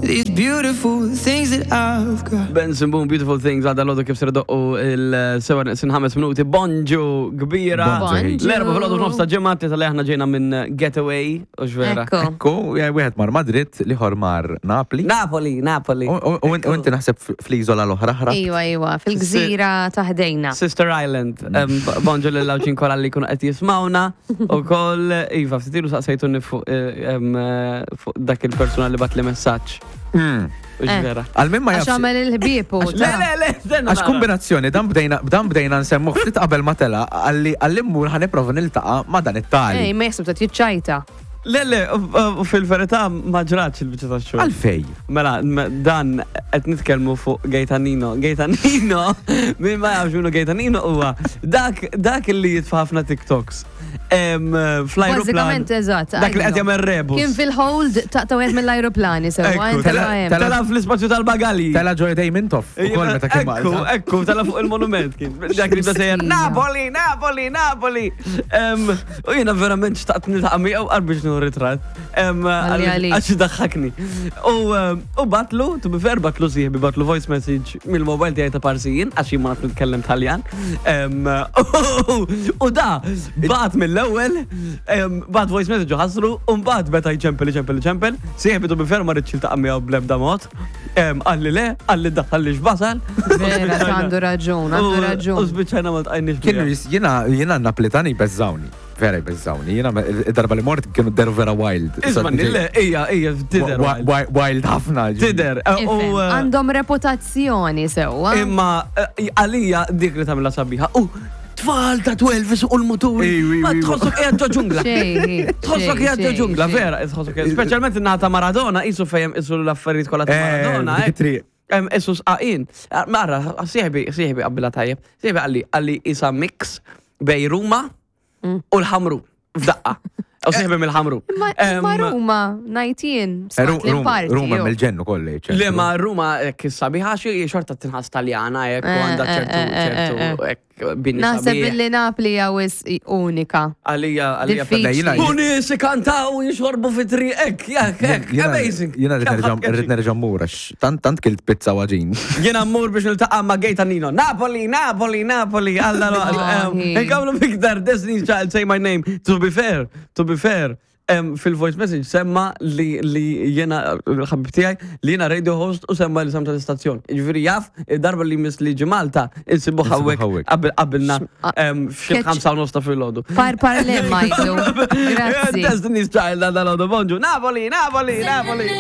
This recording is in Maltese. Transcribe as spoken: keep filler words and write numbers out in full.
These beautiful things that I've got. Benson Boone, Beautiful Things, għada l-għodu kif ser idoqqu is-sebgħa neqsin ħames minuti. Bonġu kbira. Bonġu. L-Erbgħa filgħodu f'nofs ta' ġimgħa tal aħna ġejna minn Getaway, u vera. Ekku. Ekku, wieħed mar Madrid, l-ieħor mar Napli. Napoli, Napoli. U u- u inti naħseb fl-iżola l-oħra ħra. Iwa, iwa, fil-gżira ta' ħdejna. Sister Island, em, bonġu l-lawċin kolla li kunu qed jismawna u koll, Iva, ftitilu saqsejtuni fuq eh, em, eh, fuq dak il-persona li bagħatli messaġġ. Mm. U vera. Għal min ma Għax jafx. għamel il-ħbieb u. Le, le, le, stenna Għax nara. kombinazzjoni, dan bdejna dan bdejna nsemmu ftit qabel ma tela, għalli għalli mmur ħa nipprova niltaqa' ma dan it-tali. Ej, ma jaħseb ta' jiċċajta. Le, le, u- u fil-verità ma ġratx il-biċċa ta' xogħol. Għalfej. Mela, m- dan qed nitkellmu fuq Gaetanino. Gaetanino, min ma jafx minnu Gaetanino huwa dak dak li jitfa' ħafna TikToks. Em, Fl-ajruplan. Bażikament, eżatt. Dak li qed jagħmel rebus. Kien fil-hold ta' ta' wieħed mill-ajruplani, sewwa. Ekku, inti tela- hemm. tela fl-ispazju tal-bagali. Tela ġo idej Mintoff, u kol meta kien Ekku, Malta. ekku, tela fuq il-monument kien. Dak li bda sejjer, Napoli, Napoli, Napoli. Em, U jiena verament xtaqt niltaqa' miegħu qar biex nieħu ritratt. Em, Għalli għalik. Għax daħħakni. U em, u bagħatlu, to be fair, bagħatlu sieħbi, bagħatlu voice message mill-mobile tiegħi ta' parsijin, għax jien ma naf nitkellem Taljan. Em, U da, bagħat mill-ewwel, em, bagħat voice message u ħasru, u mbagħad beda jċempel, jċempel, jċempel, sieħbi to be fair ma ridx jiltaqa' miegħu bl-ebda mod. Em, Qalli le, qalli daħħalli x'basal. Vera, ta' għandu raġun, għandu U raġun. spiċċajna ma ltqajniex Kienu miegħu. jis- jiena jiena Naplitani beżżawni. Vera jbeżżawni. Jiena me- id-darba li mort kienu deru vera wild. Isma' le, ija, ija, tider. Wi- wi- Wild ħafna. Tider. U Ifhem, eh, Għandhom reputazzjoni sewwa. Imma eh, għalija dik li tagħmilha sabiħa. U tfal ta' tnax isuqu l-muturi. Ej, Ma ej, ej. tħossok qiegħed ġo ġungla. Xej, Tħossok xej, qiegħed ġo xej, ġungla, xej. vera, tħossok qiegħed. Speċjalment in-naħa ta' Maradona, isu fejem isu l-affarijiet kollha ta' Eh, Maradona. dik eh. it-triq. Em, Isu sqaqin. Mara, sieħbi, sieħbi qabbila tajjeb. Sieħbi qalli, qalli isa mix bejn Ruma u l-Ħamrun. F'daqqa. U sieħbi mill-Ħamrun. Ma Em, ma Ruma, najtien, Eh, Ru- smart l-parti. Ruma jo. mill-ġennu kolli. Le ma Ruma hekk sabiħa xi xorta tinħas Taljana hekk u Eh, għandha eh, ċertu eh, eh, ċertu eh, hekk bini Naħseb sabiħ. illi Napli għawis unika. Għalija għalija Diffiċli. Jiena- U nies ikantaw jixorbu fi triq hekk, jak, hekk, amazing. Jiena rrid Kemm nerġa' ħadd rrid nerġa' mmur għax tant tant kilt pizza waġin. Jiena mmur biex niltaqa' ma' Gaetanino. Napoli, Napoli, Napoli. Alla Wallahi. Nkamlu miktar Destiny's Child, Say My Name. To be fair, to be fair. em, fil-voice message semma li li jena l-ħabib tiegħi li jena radio host u semma li sem tal-istazzjon. Ġifieri jaf, id-darba li miss li ġi Malta, insibu Insibuh hawnhekk hawnhekk. qabel qabilna em, f'xi Catch- ħamsa u nofs ta' filgħodu. Par parle majdu. Grazzi. Destiny's Child, għada l bonġu. Napoli, Napoli, Napoli.